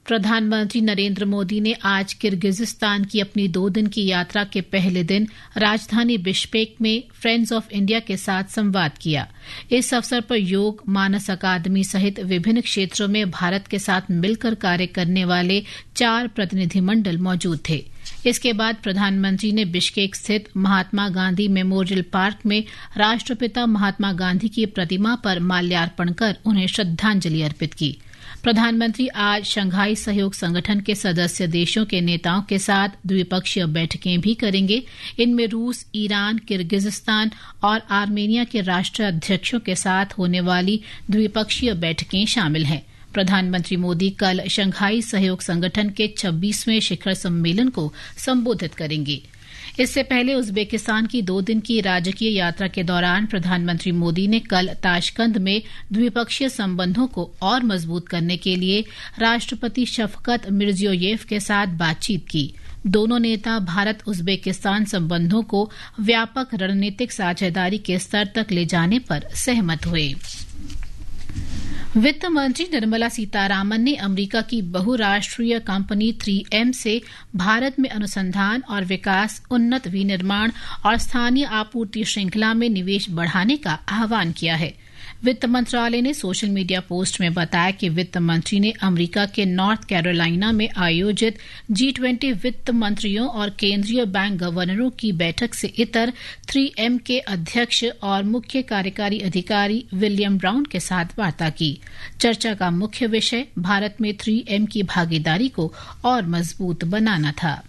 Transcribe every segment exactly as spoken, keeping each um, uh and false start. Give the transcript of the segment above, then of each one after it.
प्रधानमंत्री नरेंद्र मोदी ने आज किर्गिजिस्तान की अपनी दो दिन की यात्रा के पहले दिन राजधानी बिश्केक में फ्रेंड्स ऑफ इंडिया के साथ संवाद किया। इस अवसर पर योग, मानस अकादमी सहित विभिन्न क्षेत्रों में भारत के साथ मिलकर कार्य करने वाले चार प्रतिनिधिमंडल मौजूद थे। इसके बाद प्रधानमंत्री ने बिश्केक स्थित महात्मा गांधी मेमोरियल पार्क में राष्ट्रपिता महात्मा गांधी की प्रतिमा पर माल्यार्पण कर उन्हें श्रद्धांजलि अर्पित की। प्रधानमंत्री आज शंघाई सहयोग संगठन के सदस्य देशों के नेताओं के साथ द्विपक्षीय बैठकें भी करेंगे। इनमें रूस, ईरान, किर्गिजिस्तान और आर्मेनिया के राष्ट्राध्यक्षों के साथ होने वाली द्विपक्षीय बैठकें शामिल हैं। प्रधानमंत्री मोदी कल शंघाई सहयोग संगठन के छब्बीसवें शिखर सम्मेलन को संबोधित करेंगे। इससे पहले उज्बेकिस्तान की दो दिन की राजकीय यात्रा के दौरान प्रधानमंत्री मोदी ने कल ताशकंद में द्विपक्षीय संबंधों को और मजबूत करने के लिए राष्ट्रपति शफकत मिर्जियोयेव के साथ बातचीत की। दोनों नेता भारत उज्बेकिस्तान संबंधों को व्यापक रणनीतिक साझेदारी के स्तर तक ले जाने पर सहमत हुए। वित्त मंत्री निर्मला सीतारामन ने अमेरिका की बहुराष्ट्रीय कंपनी थ्री एम से भारत में अनुसंधान और विकास, उन्नत विनिर्माण और स्थानीय आपूर्ति श्रृंखला में निवेश बढ़ाने का आह्वान किया है। वित्त मंत्रालय ने सोशल मीडिया पोस्ट में बताया कि वित्त मंत्री ने अमेरिका के नॉर्थ कैरोलिना में आयोजित जी ट्वेंटी वित्त मंत्रियों और केंद्रीय बैंक गवर्नरों की बैठक से इतर थ्री एम के अध्यक्ष और मुख्य कार्यकारी अधिकारी विलियम ब्राउन के साथ वार्ता की। चर्चा का मुख्य विषय भारत में थ्री एम की भागीदारी को और मजबूत बनाना था।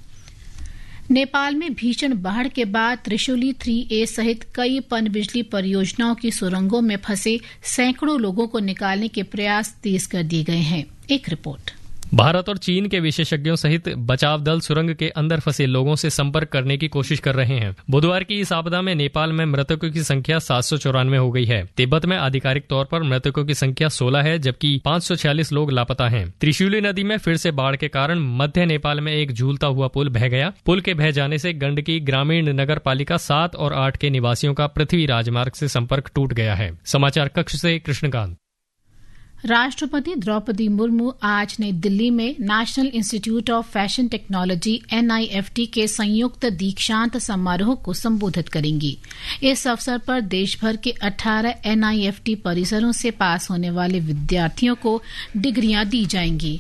नेपाल में भीषण बाढ़ के बाद त्रिशूली थ्री ए सहित कई पनबिजली परियोजनाओं की सुरंगों में फंसे सैकड़ों लोगों को निकालने के प्रयास तेज कर दिए गए हैं। एक रिपोर्ट। भारत और चीन के विशेषज्ञों सहित बचाव दल सुरंग के अंदर फंसे लोगों से संपर्क करने की कोशिश कर रहे हैं। बुधवार की इस आपदा में नेपाल में मृतकों की संख्या सात सौ चौरानवे हो गई है। तिब्बत में आधिकारिक तौर पर मृतकों की संख्या सोलह है, जबकि पाँच सौ छियालीस लोग लापता हैं। त्रिशूली नदी में फिर से बाढ़ के कारण मध्य नेपाल में एक झूलता हुआ पुल बह गया। पुल के बह जाने से गंडकी ग्रामीण नगर पालिका सात और आठ के निवासियों का पृथ्वी राजमार्ग से संपर्क टूट गया है। समाचार कक्ष से कृष्णकांत। राष्ट्रपति द्रौपदी मुर्मू आज नई दिल्ली में national institute of fashion technology, NIFT, के संयुक्त दीक्षांत समारोह को संबोधित करेंगी। इस अवसर पर देश भर के अठारह एनआईएफटी परिसरों से पास होने वाले विद्यार्थियों को डिग्रियां दी जाएंगी।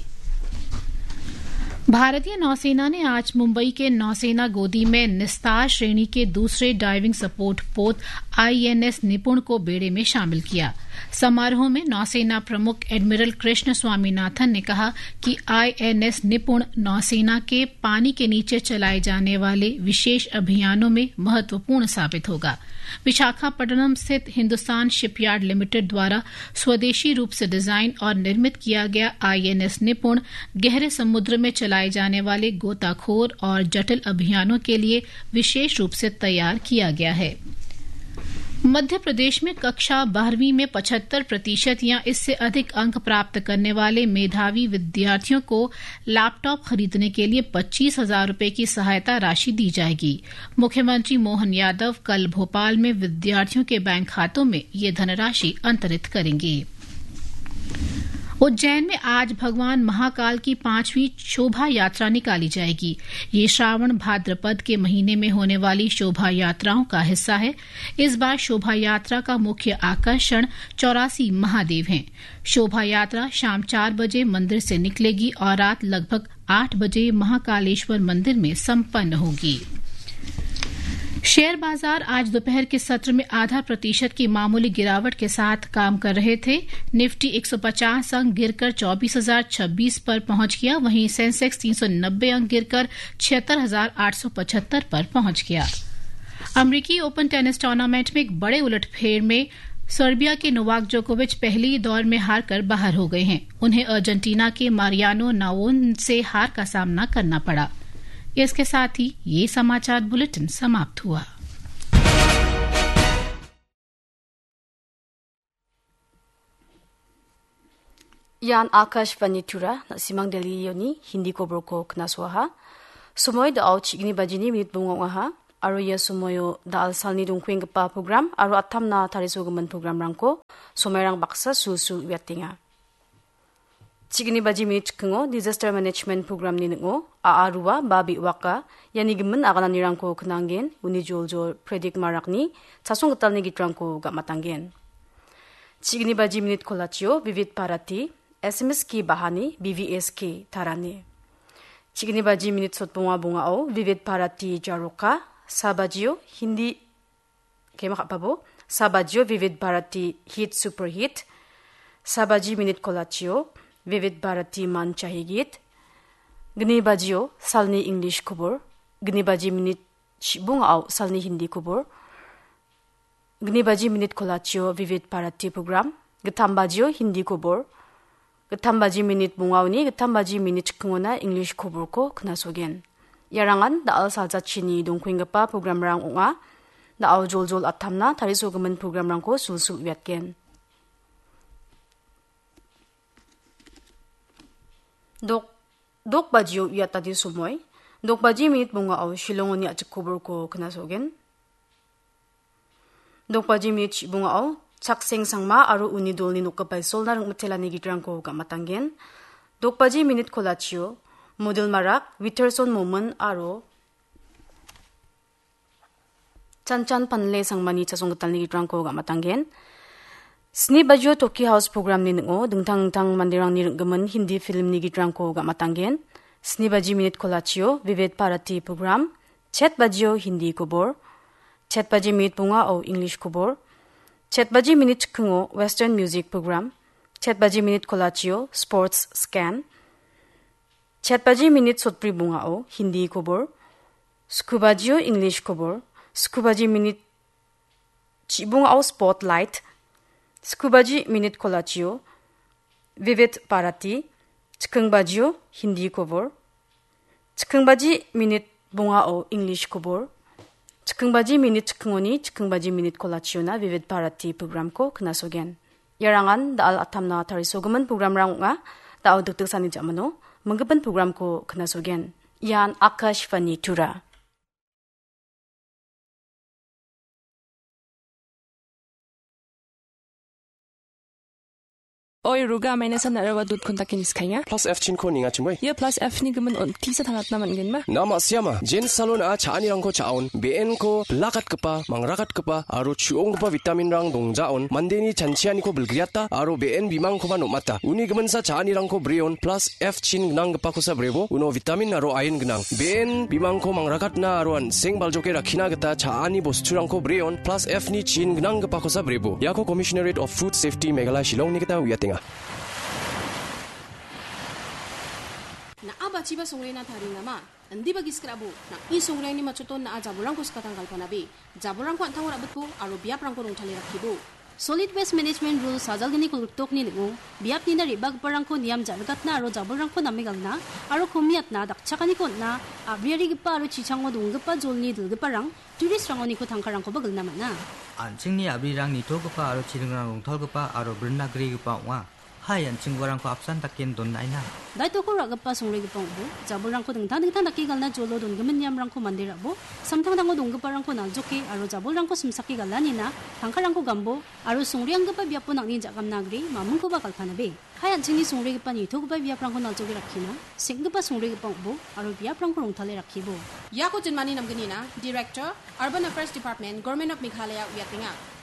भारतीय नौसेना ने आज मुंबई के नौसेना गोदी में निस्तार श्रेणी के दूसरे डाइविंग सपोर्ट पोत आईएनएस निपुण को बेड़े में शामिल किया। समारोह में नौसेना प्रमुख एडमिरल कृष्ण स्वामीनाथन ने कहा कि आईएनएस निपुण नौसेना के पानी के नीचे चलाए जाने वाले विशेष अभियानों में महत्वपूर्ण साबित होगा। विशाखापट्टनम स्थित हिंदुस्तान शिपयार्ड लिमिटेड द्वारा स्वदेशी रूप से डिजाइन और निर्मित किया गया आईएनएस निपुण गहरे समुद्र में चलाए जाने वाले गोताखोर और जटिल अभियानों के लिए विशेष रूप से तैयार किया गया है। मध्य प्रदेश में कक्षा बारहवीं में पचहत्तर प्रतिशत या इससे अधिक अंक प्राप्त करने वाले मेधावी विद्यार्थियों को लैपटॉप खरीदने के लिए पच्चीस हजार रुपए की सहायता राशि दी जाएगी। मुख्यमंत्री मोहन यादव कल भोपाल में विद्यार्थियों के बैंक खातों में ये धनराशि अंतरित करेंगे। उज्जैन में आज भगवान महाकाल की पांचवी शोभा यात्रा निकाली जाएगी। ये श्रावण भाद्रपद के महीने में होने वाली शोभा यात्राओं का हिस्सा है। इस बार शोभा यात्रा का मुख्य आकर्षण चौरासी महादेव हैं। शोभा यात्रा शाम चार बजे मंदिर से निकलेगी और रात लगभग आठ बजे महाकालेश्वर मंदिर में संपन्न होगी। शेयर बाजार आज दोपहर के सत्र में आधा प्रतिशत की मामूली गिरावट के साथ काम कर रहे थे। निफ्टी एक सौ पचास अंक गिरकर चौबीस हजार छब्बीस पर पहुंच गया, वहीं सेंसेक्स तीन सौ नब्बे अंक गिरकर छिहत्तर हजार आठ सौ पचहत्तर पर पहुंच गया। अमेरिकी ओपन टेनिस टूर्नामेंट में एक बड़े उलटफेर में सर्बिया के नोवाक जोकोविच पहले ही दौर में हारकर बाहर हो गए हैं। उन्हें अर्जेंटीना के मारियानो नावोन से हार का सामना करना पड़ा। इसके साथ ही ये समाचार बुलेटिन समाप्त हुआ। Ian Akashvani Tura, na·simang Delhi-oni Hindi koborko knasoaha. Somoi da·o chigni bajini minit bonga ong·aha. Aro ia somoio da·al salni dongkuenggipa program aro atamna tarisogimin programrangko somairang baksa sulsul uiatenga. Chigni baji minit chikingo Disaster Management Programni ning·o A A Rua ba Be·waka iani gimin agananirangko knanggen, uni joljol Predik Marakni chasong gitalni gitrangko gam·atanggen. Chigni baji minit kolachio Vivid Bharati, S M S K Bahani, B V S K Tarani. Chigni baji minit sotbonga bongao Vivid Bharati Jaroka, sa bajio Hindi Kema ka·pabo, sa bajio Vivid Bharati Hit Super Hit, sa baji minit kolachio Vivid Bharati Man Chahe Git, gni bajio salni English kobor, gni baji minit chibungao salni Hindi kobor, gni baji minit kolachio Vivid Bharati program, gittam bajio Hindi kobor, gittam baji minit bongaoni gittam baji minit chikingona English koborko knasogen. Iarangan da·al saljachini dongkuenggipa programrang ong·a. Da·o joljol attamna tarisogimin programrangko sulsul uiatgen. Dok, dok bajio uiatani somoi. Dok baji minit bongao Shillongoni a·chik koborko knasogen. Dok baji minit chibongao Chakseng Sangma aro uni dolni nokgipa isolna ringmitelani gitrangko gam·atanggen. Dok baji minit kolachio Model Marak, Witterson Momin aro Chanchan Panle Sangmani chasong gitalni gitrangko gam·atanggen. Sni bajio Toki House programni ning·o dingtang dingtang manderangni ring·gimin Hindi filmni gitrangko gam·atanggen. Sni baji minit kolachio Vivid Bharati program, chet bajio Hindi kobor, chet baji minit bongao English kobor, chet baji minit chikingo Western music program, chet baji minit kolachio sports scan, chet baji minit sotbri bongao Hindi kobor, sku bajio English kobor, sku baji minit chibongao spotlight, sku baji minit kolachio Vivid Bharati, chiking bajio Hindi kobor, chiking baji minit bongao English kobor, chiking baji minit chikingoni chiking baji minit kolachiona Vivid Bharati programko knasogen. Iarangan da·al attamna tarisogimin programrang ong·a. Da·o dikdiksani ja·mano minggipin programko knasogen. Ian Akashvani Tura. Oi, Ruga, maina san nara dot contact-ni skainga. Plus F chinko ninga chimoi. Ia plus F ni gimin on tisa tangatna man·genba? Nama siama, Jen Salon a cha·anirangko cha·on, B N ko bilakatgipa, mangrakatgipa, aro chu·onggipa vitaminrang dongjaon, mandeni chanchianiko bilgriata, aro B N bimangkoba nom·ata. Uni giminsa cha·anirangko breon, plus F chin gnanggipakosa brebo, uno vitamin aro iron gnang. B N bimangko mangrakatna aro an·seng baljoke rakkina gita cha·ani bosturangko breon, plus F ni chin gnanggipakosa brebo. Iako Commissionerate of Food Safety Meghalaya Shillongni gita uiatenga. Na·a bachiba songrena taringama? Indiba gisik ra·bo, nang·ni songreangni machoton na·a jabolrangko skatang galpanabe. Jabolrangko an·tango ra·bitbo aro biaprangko rongtale rakkibo. Solid Waste Management Rule sajalgni kolgriktokni ning·o, biapnina re·bagiparangko niam ja·rikatna aro jabolrangko name galna aro komiatna dakchakaniko on·na, a·briarigipa aro chichango donggipa jolni dilgiparang, tourist-rangoniko tangkarangkoba gilna man·a. An·chingni a·brirang nitogipa aro chiringrang rongtalgipa aro brinna grigipa ong·a. Hai, an·ching uarangko apsan daken donnaina. Daitoko ra·gipa songregipa ong·bo, jabolrangko dingtang dingtang dake galna jolo dongimin niamrangko mande ra·bo, samtangtango donggiparangko naljoke aro jabolrangko simsake galanina, tangkarangko gambo, aro songreanggipa biapo nang·ni ja·gamna gre, mamingkoba galpanabe. Hai, an·chingni songregipa nitogipa biaprangko naljoke rakkina, seng·gipa songregipa ong·bo, aro biaprangko rongtale rakkibo. Iako jinmani namgnina, Director, Urban Affairs Department, Government of Meghalaya uiatenga.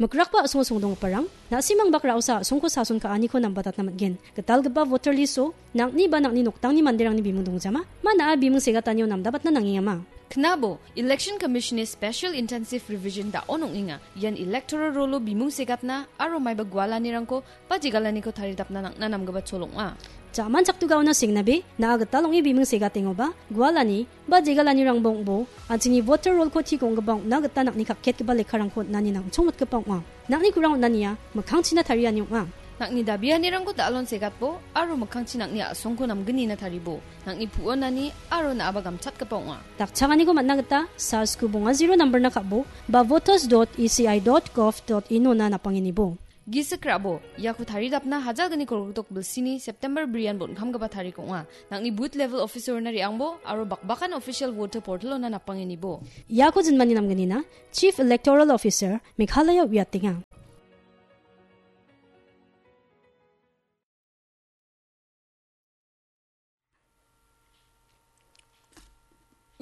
Mikrakba a·songo songdonggiparang, na·simang bak ra·osa a·songko sason ka·aniko nambatatna man·gen. Gitalgipa voter list-o nang·ni ba nang·ni noktangni manderangni bimung dongjama, ma na·a bimung segatanio namdabatna nangengama. Knabo, Election Commission-ni Special Intensive Revision da·on ong·enga. Ian electoral roll-o bimung segatna aro maiba gualanirangko ba jegalaniko taridapna nang·na namgipa chol ong·a. Jaman chakdugaona sengnabe, na·a gital ong·e bimung segatengoba, gualani, ba jegalanirangba ong·bo, an·chingni voter roll-ko tik ong·gipa ong·na gita nang·ni kakketgipa lekkarangko on·ani nang·chongmotgipa ong·a. Nang·ni kurang on·ania mikkangchina tariani ong·a. Nang·ni dabianirangko da·alon segatbo aro mikkangchi nang·ni a·songko namgnina taribo. Nang·ni pu·onani aro na·aba gamchatgipa ong·a. Dakchakaniko man·na gita, sars gu bonga zero nambar-na ka·bo, ba voters dot E C I dot gov dot in-ona napangenibo. Gisik ra·bo, iako taridapna hajalgni kolgritok bilsini September brian bon·kamgipa tarik ong·a. Nang·ni booth level officer-ona re·angbo aro bakbakan official voter portal-ona napangenibo. Iako jinmani namgnina, Chief Electoral Officer, Meghalaya uiatenga.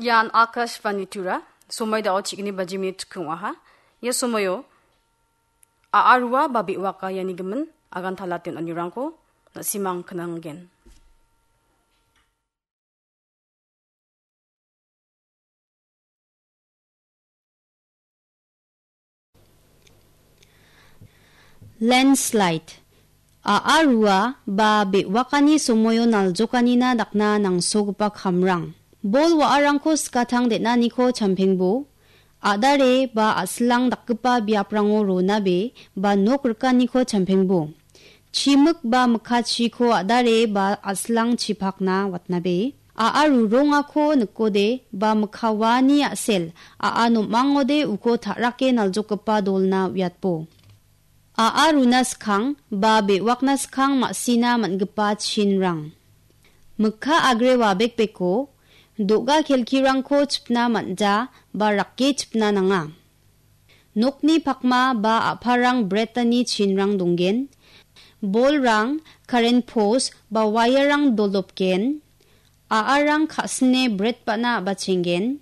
Ian Akashvani Tura, somoi dao chigni bajimi tukung aha. Ia somoio, a·a rua ba be·waka iani gimin agan tala ten anirangko na·simang knanggen. Landslide. A·a rua ba be·wakani somoio naljokanina dakna nangsogipa kamrang. Bol wa·arangko skatang den·aniko champengbo, a·dare ba a·silang dakgipa biaprango ronabe ba nok rikaniko champengbo. Chimik ba mikachiko a·dare ba a·silang chipakna watnabe. A·a rurongako nikode ba mikawani a·sel a·a nom·angode uko ta·rake naljokgipa dolna uiatbo. A·a runa skang ba be·wakna skang ma·sina man·gipa chinrang. Mikka agre wabekbeko, do·ga kelkirangko chipna man·ja ba rake chipna nanga. Nokni pakma ba a·parang bretani chinrang donggen. Bolrang, karen pos ba wairang doldopgen. A·arang ka·sine bret ba·na a·bachenggen.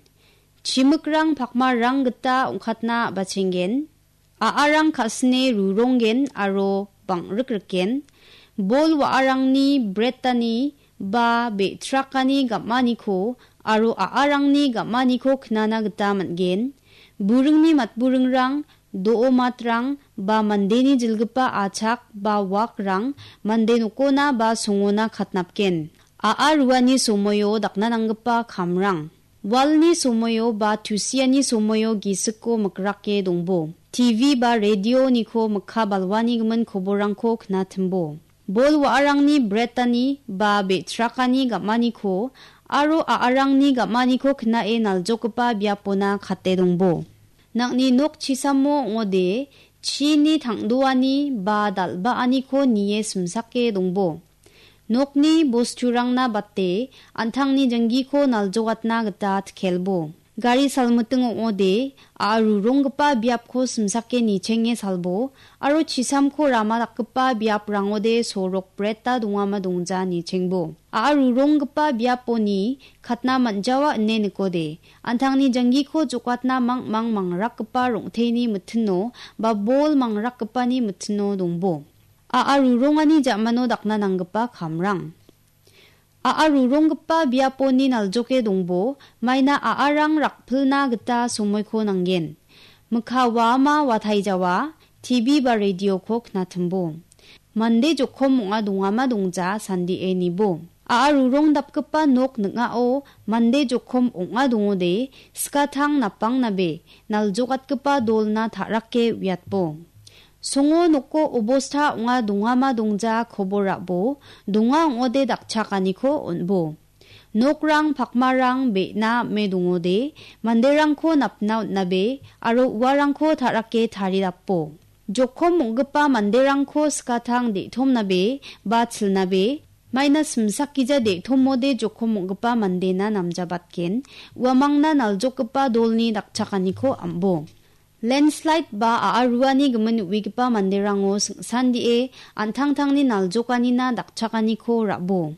Chimikrang pakmarang gita ong·katna a·bachenggen. A·arang ka·sine ruronggen aro bang·rikrikgen. Bol wa·arangni bretani ba be·trakani gam·aniko aro a·arangni gam·aniko knana gita man·gen. Buringni matburingrang, do·o matrang ba mandeni jilgipa achak ba wakrang mande nokona ba songona katnapgen. A·a ruani somoio dakna nanggipa kamrang. Walni somoio ba tusiani somoio gisiko mikrake dongbo. T V ba radioniko mikka balwani gimin koborrangko knatimbo. Bol wa·arangni bretani ba be·trakani gam·aniko aro a·arangni gam·aniko knae naljokgipa biapona kate dongbo. Nang·ni nok chisamo ong·ode chini tang·doani ba dal·baaniko nie simsake dongbo. Nokni bosturangna bate an·tangni janggiko naljogatna gita tkelbo. Gari salmiting ong·ode a·a ruronggipa biapko simsake nichenge salbo aro chisamko rama dakgipa biaprangode sorok breta dongama dongja nichengbo. A·a ruronggipa biaponi katna man·jawa ine nikode, an·tangni janggiko jokatna mang·mang mangrakgipa rong·teni mitino ba bol mangrakgipani mitino dongbo. A·a rurongani ja·mano dakna nanggipa kamrang. A·a ruronggipa biaponi naljoke dongbo, maina a·arang rakpilna gita somoiko nanggen. Mikka waama wataijawa, T V ba radioko knatimbo. Mande jokom ong·a dongama dongja sandie nibo. A·a rurong dapgipa nok ning·ao mande jokom ong·a dongode, skatang napangnabe naljogatgipa dolna ta·rake uiatbo. Songo noko obosta ong·a dongama dongja kobor ra·bo, donga ong·ode dakchakaniko on·bo. Nokrang pakmarang be·na ame dongode, manderangko napna on·nabe aro uarangko ta·rake taridapo. Jokom ong·gipa manderangko skatang de·tomnabe ba chilnabe, maina simsakgija de·tomode jokom ong·gipa mandena namjabatgen, uamangna naljokgipa dolni dakchakaniko am·bo. Landslide ba a·a ruani gimin uigipa manderango sing·sandie an·tangtangni naljokanina dakchakaniko ra·bo.